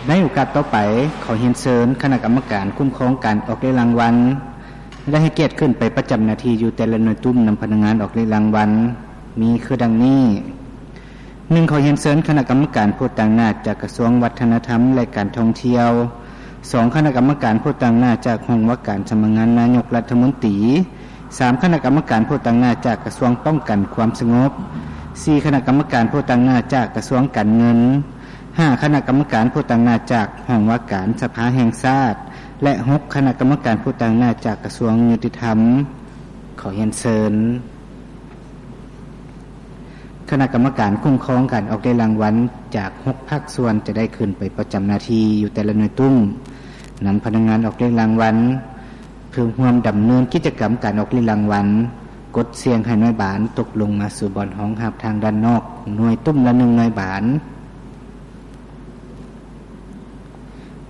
ໃນໂອກາດຕໍ່ໄປ, ຂໍຮຽນເຊີນຄະນະກຳມະການຄຸ້ມຄອງການອອກເລກລາງວັນ ໄດ້ໃຫ້ກຽດຂຶ້ນໄປປະຈຳໜ້າທີ່ຢູ່ແຕ່ລະໜ່ວຍຕຸ້ມນຳພະນັກງານອອກເລກລາງວັນ ມີຄືດັ່ງນີ້. ໜຶ່ງ ຂໍຮຽນເຊີນຄະນະກຳມະການຜູ້ຕາງໜ້າຈາກກະຊວງວັດທະນະທຳ ແລະ ການທ່ອງທ່ຽວ. ສອງ ຄະນະກຳມະການຜູ້ຕາງໜ້າຈາກຫ້ອງວ່າການສຳນັກງານນາຍົກລັດຖະມົນຕີ. ສາມ ຄະນະກຳມະການຜູ້ຕາງໜ້າຈາກກະຊວງປ້ອງກັນຄວາມສະຫງົບ. ສີ່ ຄະນະກຳມະການຜູ້ຕາງໜ້າຈາກກະຊວງການເງິນ. ຫ້າ ຄະນະກຳມະການຜູ້ຕາງໜ້າຈາກຫ້ອງວ່າການສະພາແຫ່ງຊາດ ແລະ ຫົກ ຄະນະກຳມະການຜູ້ຕາງໜ້າຈາກກະຊວງຍຸຕິທຳ. ຂໍຮຽນເຊີນ ຄະນະກຳມະການຄຸ້ມຄອງການອອກເລກລາງວັນຈາກຫົກພາກສ່ວນຈະໄດ້ຂຶ້ນໄປປະຈຳໜ້າທີ່ຢູ່ແຕ່ລະໜ່ວຍຕຸ້ມ ນຳພະນັກງານອອກເລກລາງວັນ ເພື່ອຮ່ວມດຳເນີນກິດຈະກຳການອອກເລກລາງວັນ, ກົດສ່ຽງໃຫ້ໜ່ວຍບານຕົກລົງມາສູ່ບ່ອນຮອງຮັບທາງດ້ານນອກ, ໜ່ວຍຕຸ້ມລະໜຶ່ງໜ່ວຍບານ.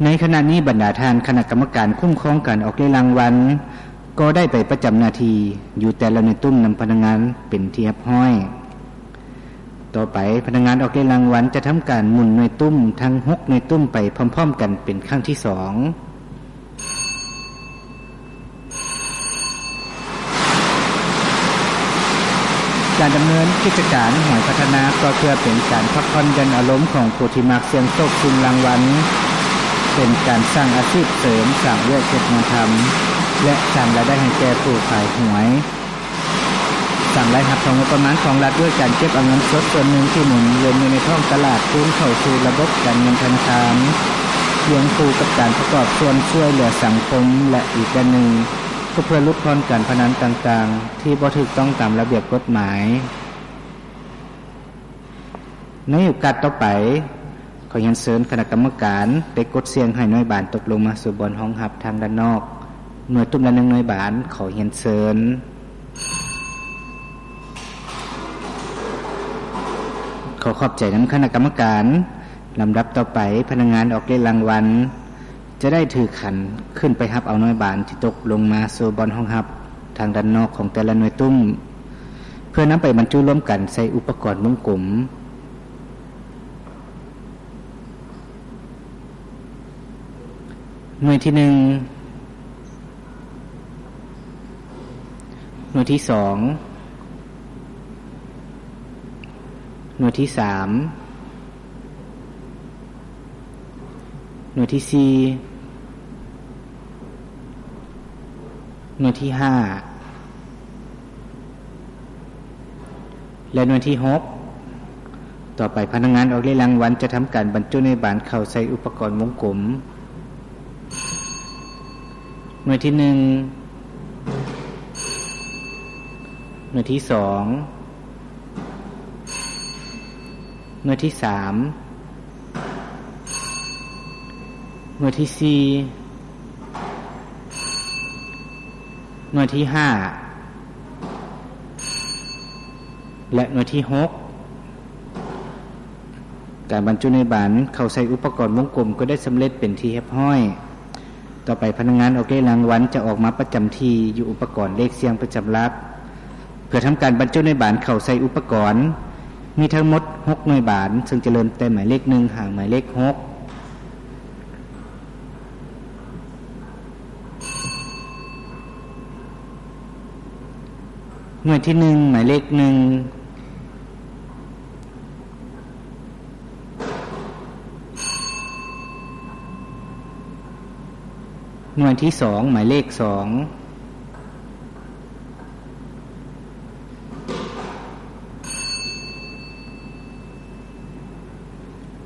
ໃນຂະນະນີ້, ບັນດາທ່ານຄະນະກຳມະການຄຸ້ມຄອງການອອກເລກລາງວັນ ກໍໄດ້ໄປປະຈຳໜ້າທີ່ຢູ່ແຕ່ລະໜ່ວຍຕຸ້ມນຳພະນັກງານເປັນທີ່ຮຽບຮ້ອຍ. ຕໍ່ໄປ, ພະນັກງານອອກເລກລາງວັນຈະທຳການໝູນໜ່ວຍຕຸ້ມທັງຫົກໜ່ວຍຕຸ້ມໄປພ້ອມໆກັນເປັນຄັ້ງທີສອງ. ການດຳເນີນກິດຈະການຫວຍພັດທະນາ ກໍເພື່ອເປັນການພັກຜ່ອນຢ່ອນອາລົມຂອງຜູ້ທີ່ມັກສ່ຽງໂຊກຊິງລາງວັນ, ເປັນການສ້າງອາຊີບເສີມ, ສ້າງວຽກເຮັດງານທຳ ແລະ ສ້າງລາຍໄດ້ໃຫ້ແກ່ຜູ້ຂາຍຫວຍ, ສ້າງລາຍຮັບເຂົ້າງົບປະມານຂອງລັດດ້ວຍການເກັບເອົາເງິນສົດສ່ວນໜຶ່ງທີ່ໝູນວຽນຢູ່ໃນທ້ອງຕະຫຼາດຄືນເຂົ້າສູ່ລະບົບການເງິນທະນາຄານ, ຄຽງຄູ່ກັບການປະກອບສ່ວນຊ່ວຍເຫຼືອສັງຄົມ ແລະ ອີກດ້ານໜຶ່ງ ກໍເພື່ອຫຼຸດຜ່ອນການພະນັນຕ່າງໆ ທີ່ບໍ່ຖືກຕ້ອງຕາມລະບຽບກົດໝາຍ. ໃນໂອກາດຕໍ່ໄປ, ຂໍຮຽນເຊີນຄະນະກຳມະການໄປກົດສ່ຽງໃຫ້ໜ່ວຍບານຕົກລົງມາສູ່ບ່ອນຮອງຮັບທາງດ້ານນອກ, ໜ່ວຍຕຸ້ມລະໜຶ່ງໜ່ວຍບານ. ຂໍຮຽນເຊີນ. ຂໍຂອບໃຈນຳຄະນະກຳມະການ. ລຳດັບຕໍ່ໄປ, ພະນັກງານອອກເລກລາງວັນ ຈະໄດ້ຖືຂັນຂຶ້ນໄປຮັບເອົາໜ່ວຍບານທີ່ຕົກລົງມາສູ່ບ່ອນຮອງຮັບທາງດ້ານນອກຂອງແຕ່ລະໜ່ວຍຕຸ້ມ ເພື່ອນຳໄປບັນຈຸລວມກັນໃສ່ອຸປະກອນວົງກົມ. ໜ່ວຍທີໜຶ່ງ, ໜ່ວຍທີສອງ, ໜ່ວຍທີສາມ, ໜ່ວຍທີສີ່, ໜ່ວຍທີຫ້າ ແລະ ໜ່ວຍທີຫົກ. ຕໍ່ໄປ, ພະນັກງານອອກເລກລາງວັນຈະທຳການບັນຈຸໜ່ວຍບານເຂົ້າໃສ່ອຸປະກອນວົງກົມ. ໜ່ວຍທີໜຶ່ງ, ໜ່ວຍທີສອງ, ໜ່ວຍທີສາມ, ໜ່ວຍທີສີ່, ໜ່ວຍທີຫ້າ ແລະ ໜ່ວຍທີຫົກ. ການບັນຈຸໜ່ວຍບານເຂົ້າໃສ່ອຸປະກອນວົງກົມກໍໄດ້ສຳເລັດເປັນທີ່ຮຽບຮ້ອຍ. ຕໍ່ໄປ, ພະນັກງານອອກເລກລາງວັນຈະອອກມາປະຈຳທີ່ຢູ່ອຸປະກອນເລກສ່ຽງປະຈຳຫຼັກ ເພື່ອທຳການບັນຈຸໜ່ວຍບານເຂົ້າໃສ່ອຸປະກອນ. ມີທັງໝົດຫົກໜ່ວຍບານ, ເຊິ່ງຈະເລີ່ມແຕ່ໝາຍເລກໜຶ່ງຫາໝາຍເລກຫົກ. ໜ່ວຍທີໜຶ່ງ ໝາຍເລກໜຶ່ງ, ໜ່ວຍທີສອງ ໝາຍເລກສອງ,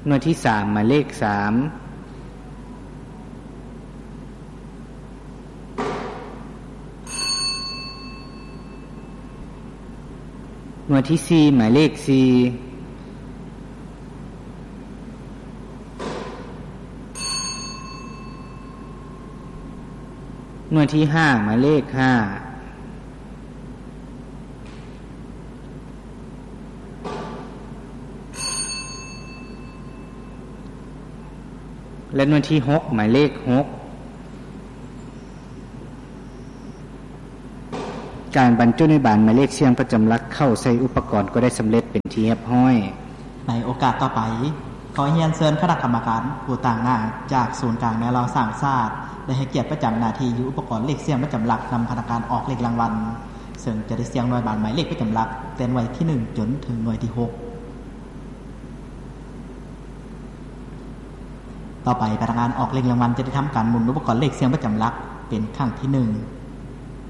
ໜ່ວຍທີສາມ ໝາຍເລກສາມ, ໜ່ວຍທີສີ່ ໝາຍເລກສີ່, ໜ່ວຍທີຫ້າ ໝາຍເລກຫ້າ, ແລະ ໜ່ວຍທີຫົກ ໝາຍເລກຫົກ. ການບັນຈຸໜ່ວຍບານໝາຍເລກສ່ຽງປະຈຳຫຼັກເຂົ້າໃສ່ອຸປະກອນກໍໄດ້ສຳເລັດເປັນທີ່ຮຽບຮ້ອຍ. ໃນໂອກາດຕໍ່ໄປ, ຂໍຮຽນເຊີນຄະນະກຳມະການຜູ້ຕາງໜ້າຈາກສູນກາງແນວລາວສ້າງຊາດ ໄດ້ໃຫ້ກຽດປະຈຳໜ້າທີ່ຢູ່ອຸປະກອນເລກສ່ຽງປະຈຳຫຼັກນຳພະນັກງານອອກເລກລາງວັນ, ເຊິ່ງຈະໄດ້ສ່ຽງໜ່ວຍບານໝາຍເລກປະຈຳຫຼັກ ແຕ່ໜ່ວຍທີໜຶ່ງຈົນເຖິງໜ່ວຍທີຫົກ. ຕໍ່ໄປພະນັກງານອອກເລກລາງວັນຈະໄດ້ທຳການໝູນອຸປະກອນເລກສ່ຽງປະຈຳຫຼັກເປັນຄັ້ງທີໜຶ່ງ.